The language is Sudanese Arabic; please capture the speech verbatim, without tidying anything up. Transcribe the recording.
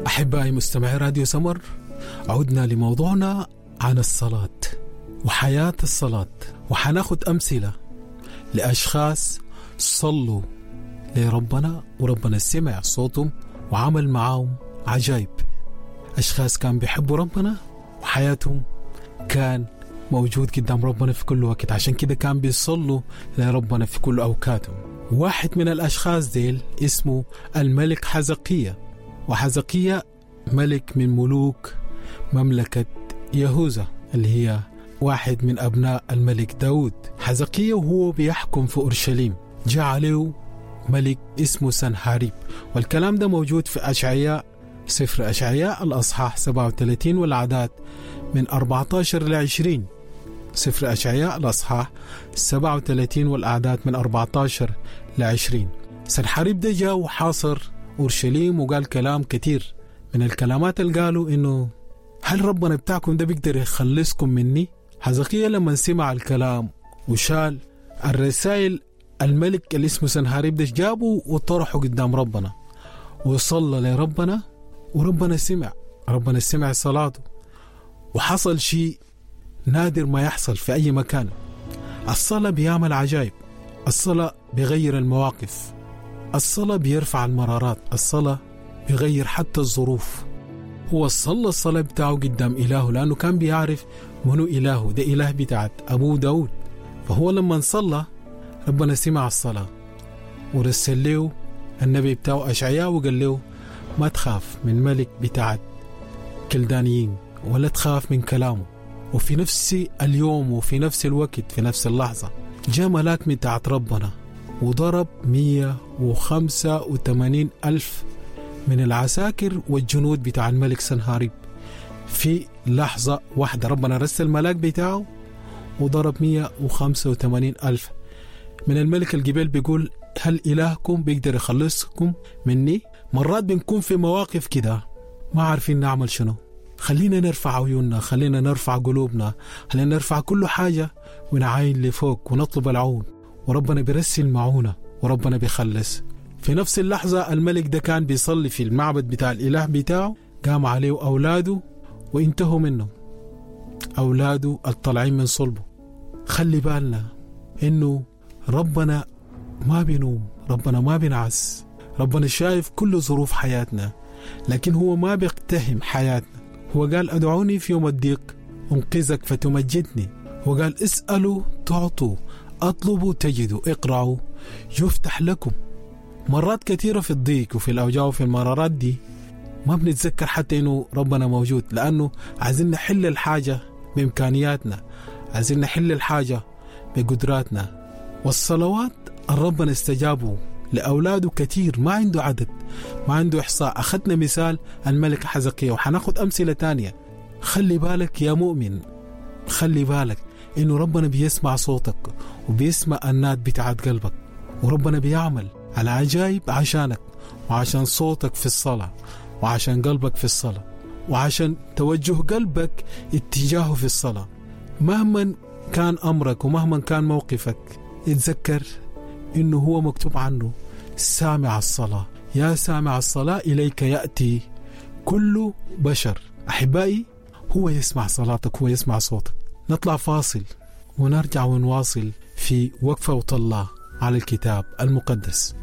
أحبائي مستمعي راديو سمر، عدنا لموضوعنا عن الصلاة وحياة الصلاة، وحناخد أمثلة لأشخاص صلوا لربنا وربنا سمع صوتهم وعمل معاهم عجائب. أشخاص كان بيحبوا ربنا وحياتهم كان موجود قدام ربنا في كل وقت، عشان كده كان بيصلوا لربنا في كل أوقاتهم. واحد من الأشخاص ديل اسمه الملك حزقية، وحزقية ملك من ملوك مملكة يهوذا اللي هي واحد من أبناء الملك داود. حزقية وهو بيحكم في أورشليم جاء عليه ملك اسمه سنحاريب، والكلام ده موجود في أشعياء، سفر أشعياء الأصحاح سبعة وثلاثين والعداد من أربعة عشر ل عشرين. سفر أشعياء الأصحاح سبعة وثلاثين والأعداد من أربعة عشر ل عشرين. سنحاريب ده جاء وحاصر أورشليم وقال كلام كتير. من الكلامات اللي قالوا إنه هل ربنا بتاعكم ده بيقدر يخلصكم مني؟ حزقية لما سمع الكلام وشال الرسائل الملك اللي اسمه سنحاريب ده جابه وطرحه قدام ربنا وصلى لربنا، وربنا سمع، ربنا سمع صلاته، وحصل شيء نادر ما يحصل في أي مكان. الصلاة بيعمل عجائب، الصلاة بيغير المواقف، الصلاة بيرفع المرارات، الصلاة بيغير حتى الظروف. هو صلى الصلاة بتاعه قدام إلهه لأنه كان بيعرف منو إلهه، ده إله بتاعت أبو داود. فهو لما صلى ربنا سمع الصلاة ورسل له النبي بتاعه أشعياء وقال له ما تخاف من ملك بتاعت كلدانيين ولا تخاف من كلامه. وفي نفس اليوم وفي نفس الوقت في نفس اللحظة جاء ملاك من بتاعت ربنا وضرب مية وخمسة وثمانين ألف من العساكر والجنود بتاع الملك سنهاريب في لحظة واحدة. ربنا رسل الملاك بتاعه وضرب مية وخمسة وثمانين ألف من الملك. الجبال بيقول هل إلهكم بيقدر يخلصكم مني؟ مرات بنكون في مواقف كده ما عارفين نعمل شنو. خلينا نرفع عيوننا، خلينا نرفع قلوبنا، خلينا نرفع كل حاجة ونعاين لفوق ونطلب العون، وربنا بيرسل معونة وربنا بيخلص. في نفس اللحظة الملك ده كان بيصلي في المعبد بتاع الإله بتاعه، قام عليه أولاده وانتهوا منه، أولاده الطالعين من صلبه. خلي بالنا إنه ربنا ما بينوم، ربنا ما بينعس، ربنا شايف كل ظروف حياتنا، لكن هو ما بيقتهم حياتنا. هو قال أدعوني في يوم الضيق أنقذك فتمجدني. هو قال اسألوا تعطوا، أطلبوا تجدوا، اقرأوا يفتح لكم. مرات كثيرة في الضيق وفي الأوجاع وفي المرارات دي ما بنتذكر حتى إنه ربنا موجود، لأنه عايزين نحل الحاجة بإمكانياتنا، عايزين نحل الحاجة بقدراتنا. والصلوات ربنا استجابوا لأولاده كثير، ما عنده عدد، ما عنده إحصاء. أخذنا مثال الملك حزقية وحناخد أمثلة تانية. خلي بالك يا مؤمن، خلي بالك إنه ربنا بيسمع صوتك وبيسمع النات بتاعت قلبك، وربنا بيعمل على عجائب عشانك وعشان صوتك في الصلاة وعشان قلبك في الصلاة وعشان توجه قلبك اتجاهه في الصلاة. مهما كان أمرك ومهما كان موقفك، اتذكر إنه هو مكتوب عنه سامع الصلاة. يا سامع الصلاة إليك يأتي كل بشر. أحبائي، هو يسمع صلاتك، هو يسمع صوتك. نطلع فاصل ونرجع ونواصل في وقفة وطلة على الكتاب المقدس.